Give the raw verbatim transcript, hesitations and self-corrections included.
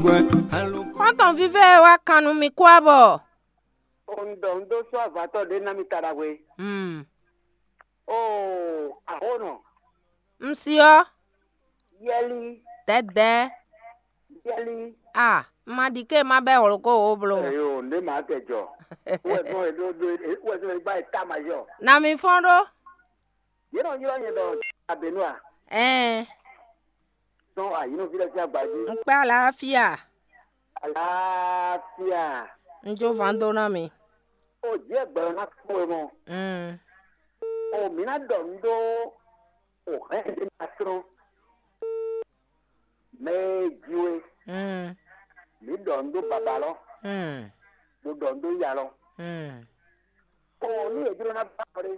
Xɔ́ntɔn vívɛ́ e wá kan nú mi kú abɔ. Un ɖɔ un dó sɔ́ avatɔ́ ɖé ná mi ta ɖagbe. Hmm. Oo, axɔ́nɔ, Un si ɔ́, yɛli, dɛ̌dɛ̌. Yɛli. A, un ma ɖi ké ma bɛ́ hlokó wǒ bló mɔ. Eyo, nɖé màá tɛ jɔ. Wɛ gbɔn e ɖó ɖó wɛ gbɔn e gbá e ta ma jɔ. Na mi fɔ́n ɖó. Yě nɔ ylɔ́ nyɛ ɖɔ Abenu a? Ɛɛ, Sɔn ayǐnúví lɛ́ɛ sín agba jí. Un kpé alafia. Alafia. Un jó van dó ná mi. O jɛ gbɛlɔ ná kpó e mɔ. Mm. O mǐ ná ɖɔ nǔ ɖó o hɛn ɖé ná srɔ́. Mɛ e jí we. Mm. Mǐ ɖɔ nǔ ɖó babalɔ. Mm. Mo ɖɔ nǔ ɖó yalɔ. Mm. O ní e jló ná ba ɖé.